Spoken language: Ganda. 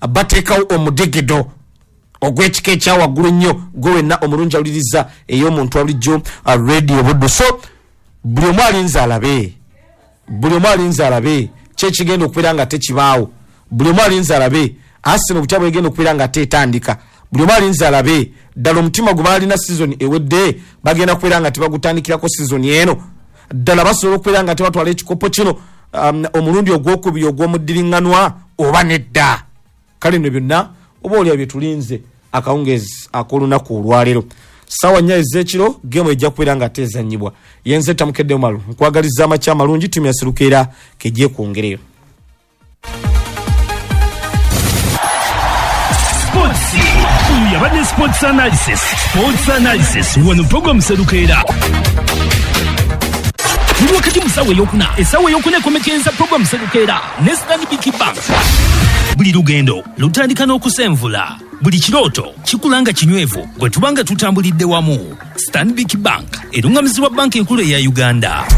Bateekawo omudigido ogw'ekika ekyawaggulu ennyo. Gwe wenna omulungi awuliriza ey'omuntu abulijjo Radio Buddu, so buli omu alinze alabe, buli omu alinze alabe kyekigenda okubeera nga tekibaawo. Buli omu alinze alabe Arsenal butya bwegenda okubeera nga tetandika. Buli omu alinze alabe ddala omutima gwe baalina season ewedde bagenda kubeera nga tebagutandikirako season eno. Ddala basobola okubeera nga tebatwala ekikopo kino omulundi ogwokubiri ogw'omuddiriŋŋanwa oba nedda? Kale nno byonna oba olya byetulinze akawungeezi ak'olunaku olwaleero, 4:00 ez'ekiro, game ejja kubeera nga tezanyibwa. Yenze Tamukedde Omalu, nkwagaliza amakya amalungi. Ttiimu ya Serukeera kejekwongereyo. Sports. Oyo yabadde Sports Analysis. Sports Analysis wano program Serukeera. Tuli wakati mu ssaawa eyokuna. Essaawa eyokuna ekomekereza program Serukeera ne Stanbic Bank. Buli lugendo lutandika n'okusenvula. Buli kirooto kikula nga kinywevu bwe tuba nga tutambulidde wamu. Stanbic Bank eruŋŋamizibwa Banka Enkulu eya Uganda.